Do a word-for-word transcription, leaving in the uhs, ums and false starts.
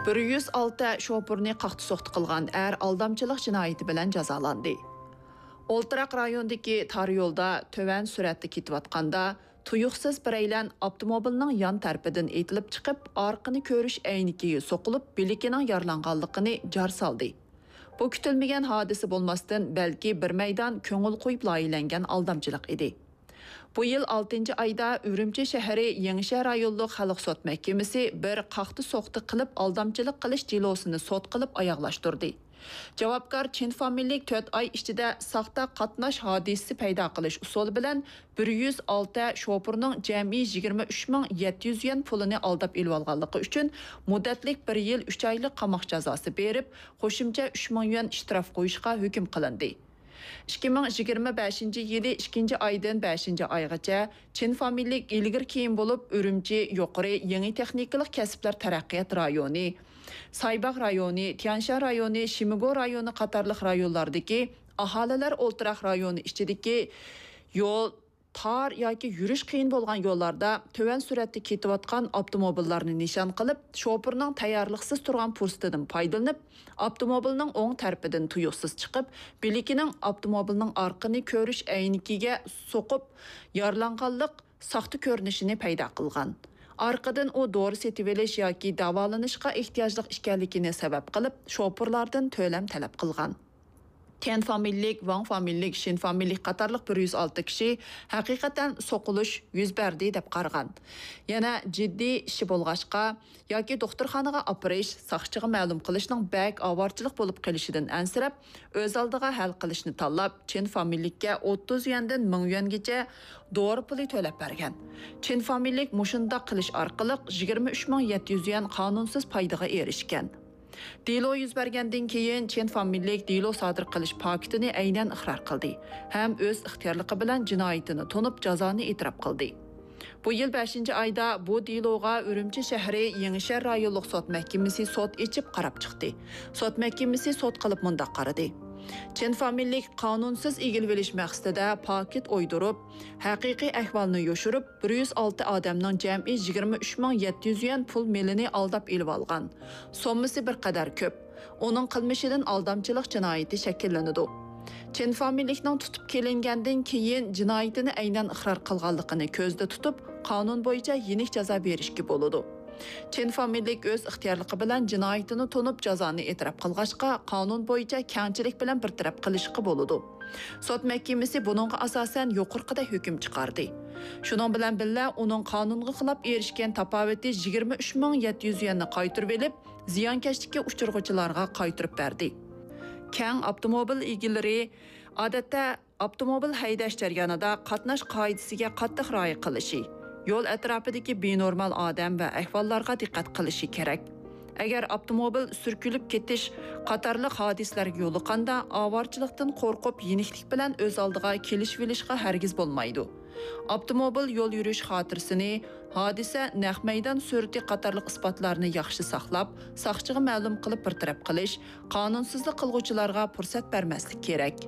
بىر يۈز ئالتە شوپۇرنى قاقتى-سوقتى قىلغان ئەر ئالدامچىلىق جىنايىتى بىلەن جازالاندى. ئولتۇراق رايونىدىكى تار يولدا تۆۋەن سۈرئەتتە كېتىۋاتقاندا، تۇيۇقسىز بىرەيلەن ئاپتوموبىلنىڭ يان تەرىپىدىن ئېتىلىپ چىقىپ، ئارقىنى كۆرۈش ئەينىكىگە سوقۇلۇپ، بىلىكىنىڭ يارىلانغانلىقىنى جار سالدى. بۇ كۈتۈلمىگەن ھادىسە بولماستىن، بەلكى بىر مەيدان كۆڭۈل قويۇپ لايىھەلەنگەن ئالدامچىلىق ئىدى. بۇ يىل ئالتىنچى ئايدا ئۈرۈمچى شەھىرى يېڭىشەھەر رايونلۇق خەلق سوت مەھكىمىسى بىر قاقتى-سوقتى قىلىپ ئالدامچىلىق قىلىش دېلوسىنى سوت قىلىپ ئاياغلاشتۇردى. جاۋابكار چىن فامىلىلىك تۆت ئاي ئىچىدە ساختا قاتناش ھادىسىسى پەيدا قىلىش ئۇسۇلى بىلەن بىر يۈز ئالتە شوپۇرنىڭ جەمئىي يىگىرمە ئۈچ مىڭ يەتتە يۈز يۈەن پۇلىنى ئالداپ ئېلىۋالغانلىقى ئۈچۈن مۇددەتلىك بىر يىل ئۈچ ئايلىق قاماق جازاسى بېرىپ، قوشۇمچە ئۈچ مىڭ يۈەن ئىشتراف قويۇشقا ھۆكۈم قىلىندى. ئىككى مىڭ يىگىرمە بەشىنچى يىلى ئىككىنچى ئايدىن بەشىنچى ئايغىچە چىن فامىلىلىك ئىلگىرى كېيىن بولۇپ، ئۈرۈمچى يۇقىرى يېڭى تېخنىكىلىق كەسىپلەر تەرەققىيات رايونى، سايباغ رايونى، تيەنشان رايونى، شىمىگو رايونى قاتارلىق رايونلاردىكى ئاھالىلەر ئولتۇراق رايونى ئىچىدىكى يول تار ياكى يۈرۈش قىيىن بولغان يوللاردا تۆۋەن سۈرئەتتە كېتىۋاتقان ئاپتوموبىللارنى نىشان قىلىپ، شوپۇرنىڭ تەييارلىقسىز تۇرغان پۇرسىتىدىن پايدىلىنىپ، ئاپتوموبىلنىڭ ئوڭ تەرىپىدىن تۇيۇقسىز چىقىپ، بىلىكىنىڭ ئاپتوموبىلنىڭ ئارقىنى كۆرۈش ئەينىكىگە سوقۇپ، يارىلانغانلىق ساختا كۆرۈنۈشىنى پەيدا قىلغان. ئارقىدىن ئۇ دورا سېتىۋېلىش ياكى داۋالىنىشقا ئېھتىياجلىق ئىكەنلىكىنى سەۋەب قىلىپ، شوپۇرلاردىن تۆلەم تەلەپ قىلغان. تيەن فامىلىلىك، ۋاڭ فامىلىلىك، شىن فامىلىلىك قاتارلىق بىر يۈز ئالتە كىشى ھەقىقەتەن سوقۇلۇش يۈز بەردى دەپ قارىغان. يەنە جىددىي ئىشى بولغاچقا ياكى دوختۇرخانىغا ئاپىرىش، ساقچىغا مەلۇم قىلىشنىڭ بەك ئاۋارىچىلىق بولۇپ قېلىشىدىن ئەنسىرەپ، ئۆز ئالدىغا ھەل قىلىشنى تاللاپ، چىن فامىلىلىككە ئوتتۇز يۈەندىن مىڭ يۈەنگىچە دورا پۇلى تۆلەپ بەرگەن. چىن فامىلىلىك مۇشۇنداق قىلىش ئارقىلىق يىگىرمە ئۈچ مىڭ يەتتە يۈز يۈەن قانۇنسىز پايدىغا ئېرىشكەن. دېلو يۈز بەرگەندىن كېيىن، چىن فامىلىلىك دېلو سادىر قىلىش پاكىتىنى ئەينەن ئىقرار قىلدى ھەم ئۆز ئىختىيارلىقى بىلەن جىنايىتىنى تونۇپ، جازانى ئېتىراپ قىلدى. بۇ يىل بەشىنچى ئايدا بۇ دېلوغا ئۈرۈمچى شەھىرى يېڭىشەھەر رايونلۇق سوت مەھكىمىسى سوت ئېچىپ قاراپ چىقتى. سوت مەھكىمىسى سوت قىلىپ مۇنداق قارىدى: چىن فامىلىلىك قانۇنسىز ئىگىلىۋېلىش مەقسىتىدە پاكىت ئويدۇرۇپ، ھەقىقىي ئەھۋالنى يوشۇرۇپ، بىر يۈز ئالتە ئادەمنىڭ جەمئىي يىگىرمە ئۈچ مىڭ يەتتە يۈز يۈەن پۇل مېلىنى ئالداپ ئېلىۋالغان. سوممىسى بىر قەدەر كۆپ. ئۇنىڭ قىلمىشىدىن ئالدامچىلىق جىنايىتى شەكىللىنىدۇ. چىن فامىلىلىكنىڭ تۇتۇپ كېلىنگەندىن كېيىن جىنايىتىنى ئەينەن ئىقرار قىلغانلىقىنى كۆزدە تۇتۇپ، قانۇن بويىچە يېنىك جازا بېرىشكە بولىدۇ. چىن فامىلىلىك ئۆز ئىختىيارلىقى بىلەن جىنايىتىنى تونۇپ، جازانى ئېتىراپ قىلغاچقا، قانۇن بويىچە كەڭچىلىك بىلەن بىر تەرەپ قىلىشقا بولىدۇ. سوت مەھكىمىسى بۇنىڭغا ئاساسەن يۇقىرىقىدەك ھۆكۈم چىقاردى. شۇنىڭ بىلەن بىللە، ئۇنىڭ قانۇنغا خىلاپ ئېرىشكەن تاپاۋىتى يىگىرمە ئۈچ مىڭ يەتتە يۈز يۈەننى قايتۇرۇۋېلىپ، زىيانكەشلىككە ئۇچرىغۇچىلارغا قايتۇرۇپ بەردى. كەڭ ئاپتوموبىل ئىگىلىرى، ئادەتتە، ئاپتوموبىل ھەيدەش جەريانىدا قاتناش قائىدىسىگە قاتتىق رىئايە قىلىشى، يول ئەتراپىدىكى بىنورمال ئادەم ۋە ئەھۋاللارغا دىققەت قىلىشى كېرەك. ئەگەر ئاپتوموبىل سۈركىلىپ كېتىش قاتارلىق ھادىسىلەرگە يولۇققاندا، ئاۋارىچىلىقتىن قورقۇپ، يېنىكلىك بىلەن ئۆز ئالدىغا كېلىشىۋېلىشقا ھەرگىز بولمايدۇ. ئاپتوموبىل يول يۈرۈش خاتىرىسىنى، ھادىسە نەق مەيدان سۈرىتى قاتارلىق ئىسپاتلارنى ياخشى ساقلاپ، ساقچىغا مەلۇم قىلىپ بىر تەرەپ قىلىش، قانۇنسىزلىق قىلغۇچىلارغا پۇرسەت بەرمەسلىك كېرەك.